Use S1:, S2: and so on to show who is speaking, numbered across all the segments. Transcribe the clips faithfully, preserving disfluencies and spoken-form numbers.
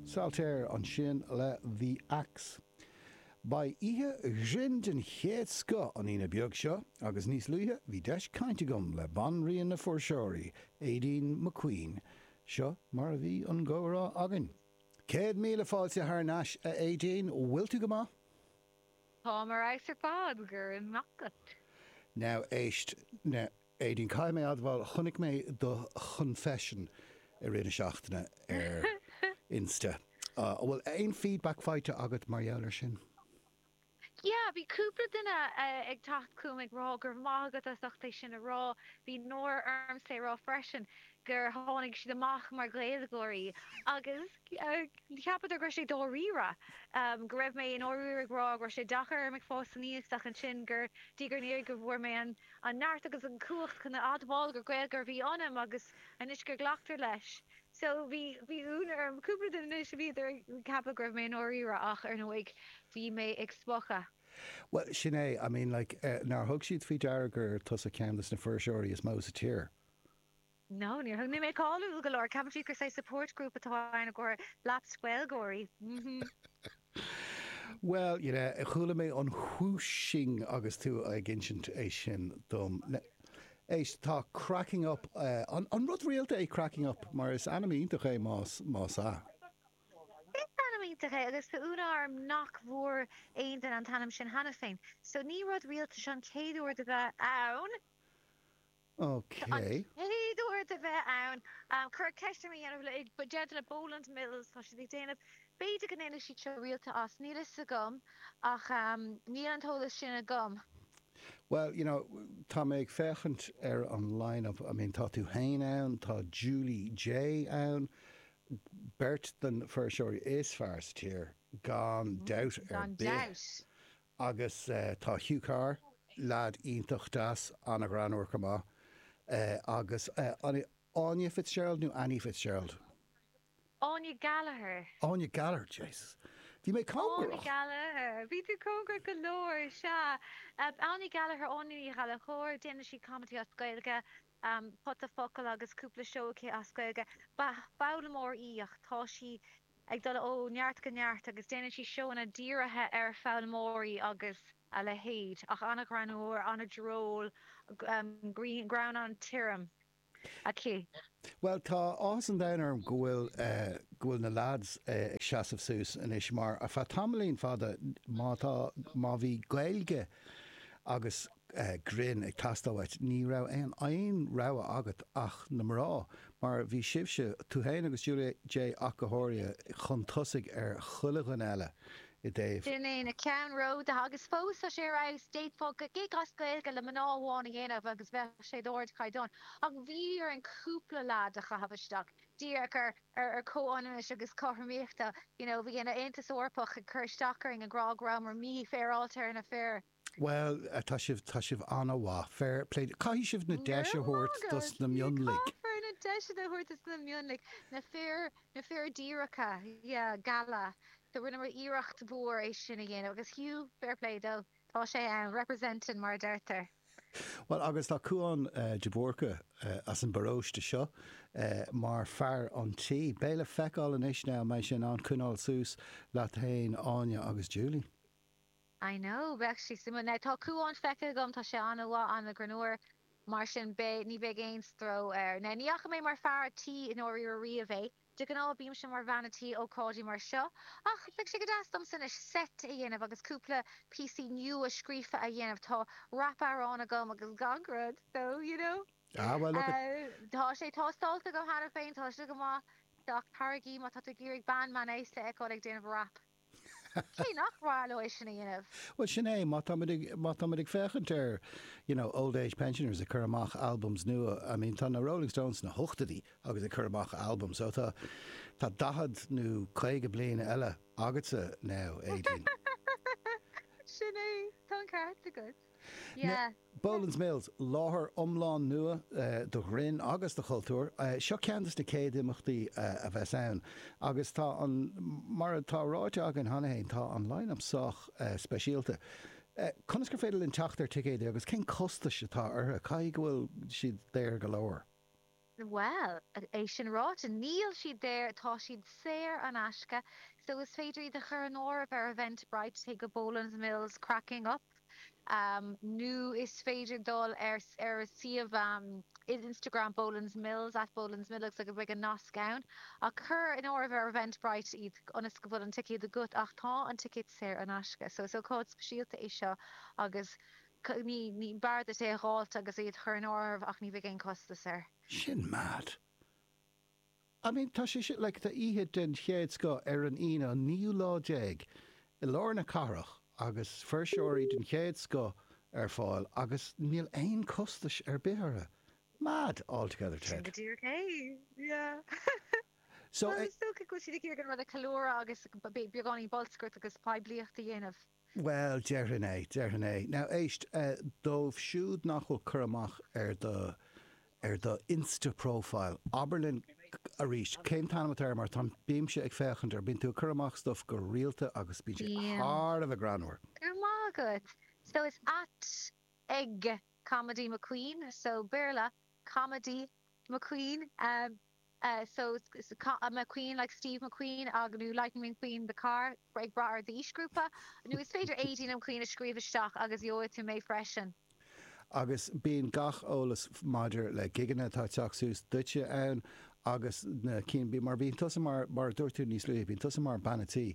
S1: Saltair ansin le The Axe. Beidh oíche ghrinn den chéad scoth an Aoine beag seo agus níos luaithe bhí deis caint agam le banríon na fuirseoirí, Aideen McQueen. Seo mar a bhí an comhrá againn. Céad míle fáilte thar n-ais a Aideen, bhfuil tú go maith?
S2: Táim ar fheabhas ar fad, go raibh maith agat.
S1: Now éist, now Aideen, caithfidh mé admháil, chonaic mé do chonfession i rith na seachtaine ar Insta. An bhfuil aon feedback faighte agat mar gheall air sin?
S2: Yeah, bhí cúpla duine ag teacht chugam ag rá go raibh maith agat as ucht é sin a rá. Bhí náire ormsa é rá freisin gur tháinig siad amach mar Ghaeilgeoirí agus cheapadar go raibh sé dáiríre, go raibh mé i ndáiríre ag rá go raibh sé deacair orm ag fás aníos ach ansin gur diaidh ar ndiaidh go bhfuair mé an neart agus an cumhacht chun a admháil gur Gaeilgeoir a bhí ionam agus anois gur glactar leis. So bhí bhí ionadh orm cúpla duine anois a bhíodar ag ceapadh go raibh mé i ndáiríre ach ar ndóigh bhí mé ag spochadh.
S1: Bhuel sin é, I mean like nár thug siad faoi deara gur tusa ceann de na fuirseoirí is mó sa tír?
S2: No, níor thug. Níl mé cáiliúil go leor. Ceapann siad gur saghas support group atá ann i gcomhair lapsed Gaeilgeoirí.
S1: Bhuel, you know, chuala mé an whooshing agus tú ag insint é sin dom. Éist, tá Cracking Up, an an rud rialta é Cracking Up mar is ainm iontach é más más ea.
S2: Is ainm iontach é agus tá ionadh orm nach bhfuair aon duine an t-ainm sin cheana féin. So ní rud rialta seo an chéad uair de bheith ann.
S1: Ok.
S2: An chéad uair de bheith ann. Cuireadh ceist orm a dhéanamh le déanta le Boland Mills, tá siad ag déanamh, b'fhéidir go ndéanfaidh siad seo rialta as, níl fhios agam ach níl an t-eolas sin agam.
S1: Well, you know, tá mé ag féachaint ar an line-up, I mean tá tú féin ann, tá Julie Jay ann, beirt den fuirseoirí is fearr sa tír, gan dabht ar
S2: Gan
S1: bith.
S2: dabht.
S1: Agus tá Hugh Carr, leaid iontach deas, an-ghreannmhar chomh maith, agus an Áine Fitzgerald nó Annie Fitzgerald?
S2: Áine Gallagher.
S1: Áine Gallagher, Jesus. Bhí mé
S2: Áine
S1: cóngarach!
S2: Gallagher. Bhí tú cóngarach go leor, sea. Áine Gallagher, Áine Ní Ghallchóir, déanann sí comedy as Gaeilge, pota focal agus cúpla seó aici as Gaeilge. Ba foghlaimeoir í ach tá sí ag dul ó neart go neart agus déanann sí seóanna dírithe ar foghlaimeoirí agus a leithéid, ach an-ghreannmhar, an-droll, greann an-tirim aici.
S1: Bhuel, tá áthas an domhain orm go bhfuil go bhfuil na lads ag seasamh suas anois mar ar feadh tamaillín fada má tá má bhí Gaeilge agus grinn ag teastáil uait ní raibh aon aon rogha agat ach na mná mar bhí sibhse, tú féin agus Julie Jay ach go háirithe, chun tosaigh ar chuile dhuine eile i dtaobh.
S2: Sin é na ceannródaithe agus fós tá sé ar fheabhas. D'fhéadfá gig as Gaeilge le mná amháin a dhéanamh agus bheadh sé d'ardchaighdeán. Ach bhí orainn cúpla leaid a chaitheamh isteach díreach ar ar comhionannais agus cothromaíochta. You know, bhí an Aontas Eorpach ag cur isteach orainn ag rá go rabhamar mífhéaráilte ar na fir.
S1: Bhuel, tá sibh, tá sibh an-mhaith. Fair play. Caithfidh sibh na deis a thabhairt dos na mionlaigh.
S2: Caithfear na deiseanna a thabhairt dos na mionlaigh. Na fir, na fir díreacha, yeah, geala. So rinneamar iarracht mhór é sin a dhéanamh agus Hugh, fair play dó, tá sé ann, representing mar a deirtear.
S1: Bhuel, agus tá Cúán de Búrca as an bparóiste seo mar fear an tí. Beidh le feiceáil anois now an mbeidh sé in ann coinneáil suas leat féin, Áine agus Julie.
S2: I know, bheadh sé suimiúil. Now tá Cúán feicthe agam, tá sé an-mhaith, an-ghreannmhar, mar sin beidh, ní bheidh aon stró air. Now ní fhaca mé mar fear tí i ndáiríre riamh é, de ghnáth bímse mar bhean a tí ócáidí mar seo, ach bheadh sé go deas domsa anois set a dhéanamh agus cúpla píosaí nua scríofa a dhéanamh, tá rap-amhrán agam agus gach rud, so you know.
S1: Ah well look at.
S2: Tá sé tástáilte agam cheana féin, tá sé go maith, ach taraigí má tá tú ag iarraidh bean meánaosta a fheiceáil ag déanamh rap. Cé nach mhaith leo é sin a dhéanamh?
S1: Bhuel, sin é, má táimid ag, má táimid ag féachaint ar, you know, old age pensioners ag cur amach albums nua, I mean, tá na Rolling Stones sna hochtóidí agus ag cur amach albums, so tá, tá daichead nó caoga bliain eile agatsa now, Aideen.
S2: Sin é, tá an ceart agat. Yeah.
S1: Boland's Mills, láthair iomlán nua do ghrinn agus do chultúr. Seo ceann de na chéad imeachtaí a bheas ann agus tá an, mar atá ráite againn cheana féin, tá an line-up sách speisialta. Conas gur féidir linn teacht ar ticéid agus cén costais atá orthu? Caithfidh go bhfuil siad daor go leor.
S2: Well, é sin ráite níl siad daor tá siad saor in aisce, so is féidir iad a chur in áirithe ar Eventbrite téigh go Boland's Mills cracking up. Um, nó is féidir dul ar ar suíomh um, Instagram Boland's Mills at Boland's Mills agus beidh an nasc ann a chur in áirithe ar Eventbrite iad ionas go bhfuil an ticéad agat ach tá an ticéad saor in aisce, so is ócáid speisialta é seo agus ní ní b'fhearr duit é a fháilt agus iad chur in áirithe ach ní bheidh aon costas air.
S1: Sin mad. I mean tá sé sin like, tá oíche den chéad scoth ar an Aoine an naoú lá déag i lár na cathrach agus fuirseoirí den chéad scoth ar fáil agus níl aon costas ar bith orthu. Mad altogether
S2: Sin
S1: Ted.
S2: go díreach é. Yeah.
S1: So
S2: Well
S1: eh,
S2: is dócha go bhfuil siad ag iarraidh an rud a cheiliúradh agus beagáinín bolscaireacht agus poiblíocht a dhéanamh.
S1: Well, déarfainn é, déarfainn é. Now éist uh, dóibh siúd nach bhfuil cur amach ar do ar do Insta profile. Abair linn arís cén t-ainm atá air mar tá bímse ag féachaint ar bíonn tú ag cur amach stuff go rialta agus bíonn sé
S2: Bím.
S1: thar a bheith greannmhar.
S2: Go maith agat. So it's at ag Comedy McQueen, so Béarla Comedy McQueen. Um, uh, so it's, it's a, co- a McQueen like Steve McQueen agus nó Lightning McQueen the car ag brath ar d'aoisghrúpa nó is féidir Aideen McQueen a scríobh isteach agus gheobhaidh tú mé freisin.
S1: Agus bíonn gach eolas maidir le gigeanna atá ag teacht suas duitse ann agus na cinn bí mar bíonn tusa mar mar dúirt tú níos luaithe bíonn tusa mar bean tí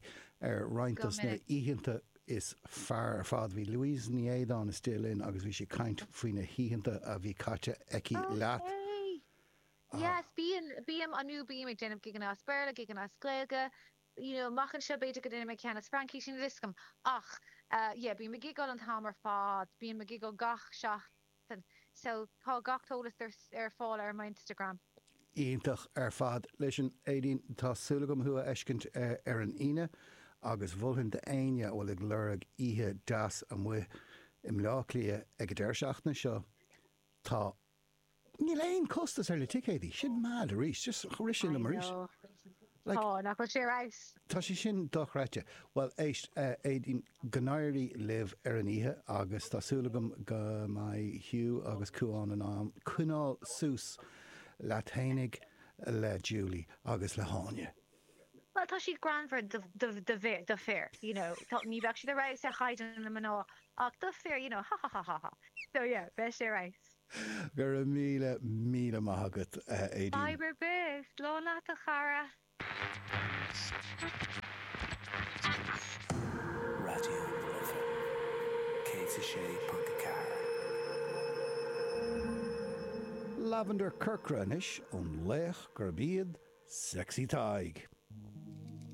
S1: ar roinnt
S2: Go
S1: dos na
S2: minic.
S1: oícheanta is fearr ar fad bhí Louise Ní Éadáin istigh linn agus bhí sí ag caint faoi na hoícheanta a bhí caite aici leat.
S2: Okay. Yes, bíonn bím anú bím ag déanamh gigeanna as Béarla, gigeanna as Gaeilge, you know, amach anseo b'fhéidir go ndéanfaidh mé ceann as Fraincis níl a fhios agam. Ach uh, yeah, bím ag gigeáil an t-am ar fad, bím ag gigeáil gach seachtain. So tá gach eolas ar, ar fáil ar my Instagram.
S1: Iontach ar fad leis an Aideen tá súil agam thú a fheiscint eh, ar an Aoine agus mholfainn d'éinne a bhfuil ag lorg oíche deas amuigh i mBleá Cliath ag an deireadh seachtaine seo tá níl aon costas ar na ticéidí sin mad arís just rith sin
S2: I
S1: arís.
S2: know.
S1: Like,
S2: Tá nach bhfuil sé reis.
S1: Tá sé sin dochreidte. Well éist uh, Aideen go n-éirí libh ar an oíche agus tá súil agam go mbeidh Hugh agus Cuán in ann coinneáil suas leat féinig le Julie agus le hÁine.
S2: Well tá siad greannmhar do do do fir do fir, you know, tá ní bheadh siad ar fheabhas ar chaighdeán na mná ach do fir, you know, ha ha ha ha ha. So yeah, beidh sé reis.
S1: Go raibh míle míle maith agat uh, Aideen.
S2: Fadhb ar bith, slán leat a chara.
S3: Raidió na Life céad a sé ponc ceathair.
S1: Lavender Corcra anois ón laoch gurb iad Sexy Tadhg.